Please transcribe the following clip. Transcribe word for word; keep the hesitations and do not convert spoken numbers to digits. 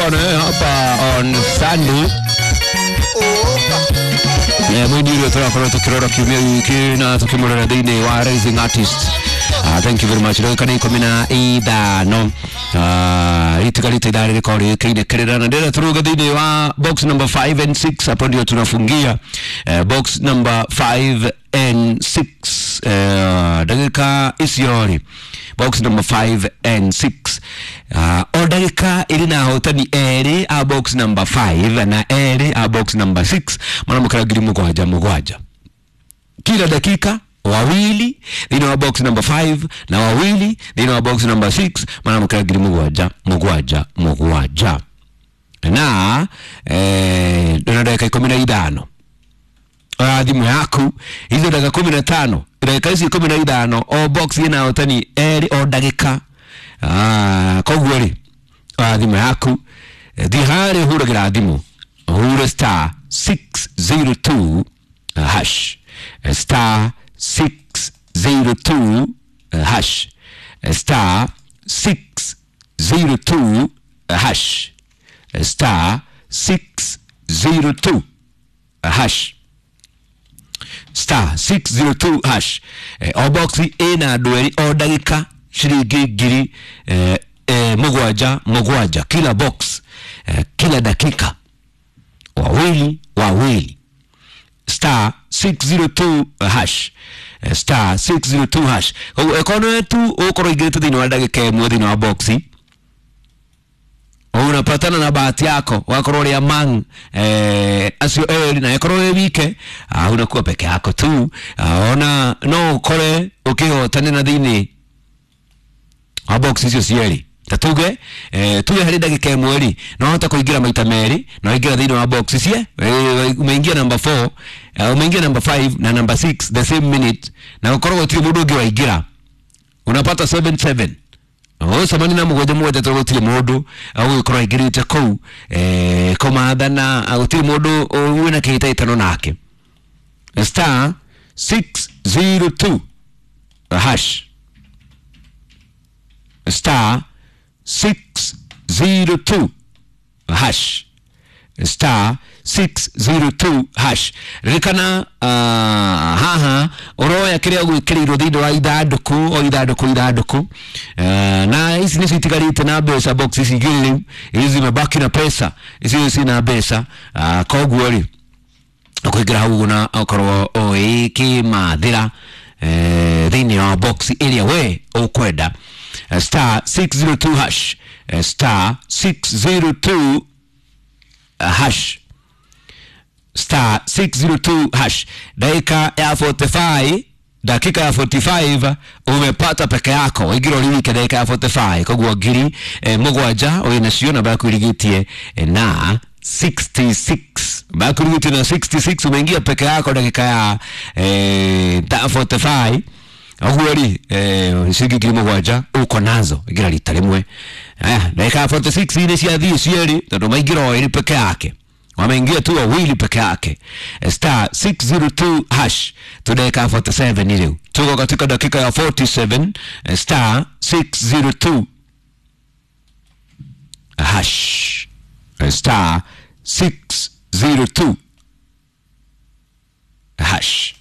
Tutakuwa na wewe hapa on Sunday. Mwini ule turakorwo tukirora kiumia giki na tukimurora thiini wa Rising Artist. Uh, thank you very much. Ndagĩka nĩ ikũmi na ithano uh, itigarĩte ithaa rĩrĩkorwo rĩũkĩire kĩrĩra na ndĩrenda tũrũge thĩinĩ wa box number five and six. Hapo ndio tunafungia uh, box number five and six. uh, ndagĩka icio rĩ box number five and six uh, o ndagĩka ĩrĩ na ahotani erĩ a box number five na erĩ a box number six maramũkĩra ngiri mũgwanja mũgwanja kila dakika, wawili thĩinĩ wa box number five na wawili thĩinĩ wa box number six maramũkĩra ngiri mũgwanja mũgwanja mũgwanja na eh, ndĩna ndagĩka ikũmi na ithano. Oya thimũ yaku hizo ndagĩka kumi na tano, ndagĩka ici ikũmi na ithano o box ĩna ahotani erĩ o ndagĩka. Ah, koguo rĩ oya thimũ yaku thiĩ harĩa ũhũragĩra thimũ ũhure star six zero two hash star six zero two hash star six zero two hash star six zero two hash star six zero two hash. Eh, o box ĩna andũ erĩ o ndagĩka ciringi ngiri eh, eh, mũgwanja mũgwanja kila box eh, kila dakika wawili wawili star six zero two hash star six zero two hash. Koguo ĩkorwo nĩwe tu ũgũkorwo ũingĩrĩte thĩinĩ wa ndagĩka ĩmwe thĩinĩ wa boxi unapatana na bahati yako wakorwo uri among eh, acio eri na ĩkorwo wĩ wike uh, unakuwa peke yako tu uh, ona no ukore ũkĩhotanĩra thĩinĩ wa box icio cierĩ. Ta tuge eh, tuge harĩ ndagĩka ĩmwe rĩ no hote kũingĩra maita merĩ na waingĩra thĩinĩ wa box ici eh, umeingia number four uh, umeingia number five na number six the same minute na ũkorwo gũtirĩ mũndũ ũngĩ waingĩra unapata seven seven ũcemania na mũgwanja mũgwanja tondũ gũtirĩ mũndũ ũgũgĩkorwo aingĩrĩte kũu eh, kũmathana gũtirĩ mũndũ wĩna kĩhĩtahĩtano nake. Star six zero two hash star six zero two hash star six zero two hash. Ririkana uh, haha ũroya kĩrĩa ũgwĩkĩrĩirwo thĩinĩ wa ithandũkũ o ithandũkũ ithandũkũ uh, na ici nĩcio itigarĩte na mbeca box ici igĩrĩ rĩu ici zimebaki na pesa ici cina mbeca uh, koguo rĩ ũkũingĩra hau ũguo na ũkorwo ũgĩkĩmathĩra eh, thĩinĩ wa box ĩrĩa we ũkwenda. Star six zero two hash star six zero two hash star six zero two hash. Dakika ya forty-five, dakika ya forty-five umepata peke yako waingĩra ũrĩ wike dakika ya forty-five koguo ngiri eh, mũgwanja wĩ nacio namba yaku ĩrigĩtie eh, na sixty-six namba yaku ĩrigĩtie na sixty-six umeingia peke yako dakika ya eh, forty-five ũguo rĩ eh, ciringi ngiri mũgwanja uko nazo ingĩra rita rĩmwe. Aya dakika ya forty-six nĩ ciathiĩ cierĩ tondũ maingĩra o erĩ peke yake wameingia tu wawili peke yake. Star six zero two hash tu dakika ya forty-seven rĩu tuko katika dakika ya forty-seven star six zero two hash star six zero two hash.